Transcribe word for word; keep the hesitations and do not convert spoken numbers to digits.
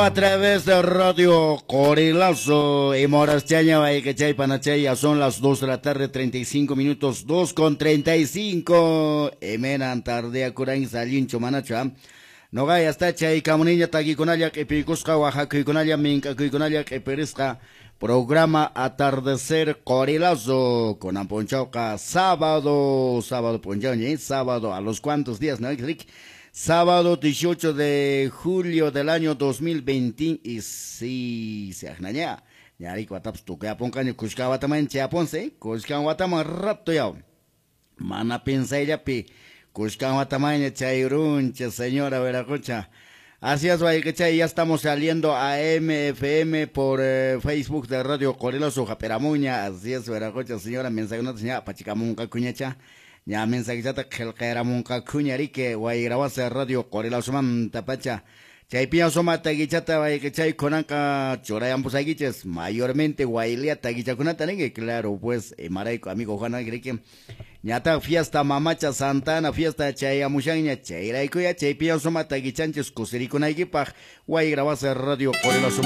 A través de Radio Qorilazo y Moraschaña, Chay Panachay, ya son las dos de la tarde, treinta y cinco minutos, dos con treinta y cinco. Emenan tardea curain salincho manacho. No gaya hasta chay camuniña taquiconalla, epicuska, oaxacuiconalla, mincacuiconalla, eperisca. Programa Atardecer Qorilazo con Amponchauca, sábado, sábado ponchauña, sábado, a los cuantos días, ¿no? Sábado dieciocho de julio del año dos mil veinte y sí, se ajnaña. Ñarico ataps tuca poncaño cusca wataman chiaponse, cusca wataman rato ya. Mana pensayllapi, cusca watamaña chayruncha, señora Veracocha. Así es, Guayquechay, ya estamos saliendo a M F M por eh, Facebook de Radio Qorilazo Japeramuña. Así es, Veracocha, señora, mensaje no señora, pachicamunca cuñacha. Ya mensaje chata qillqayramunqa kuñarike wayrawasa Radio Qorilazo mantapacha. Chaypiña suma taguichata wayquechay kunanqa churayampusakichis mayormente waylia taguichakunata ninki, claro, pues imarayku amigo Juan Agrike. Ñata fiesta mamacha Santana fiesta chayamushanña chayraykuya chaypiña suma taguichanchis kusirikunaykipaq wayrawasa Radio Qorilazo.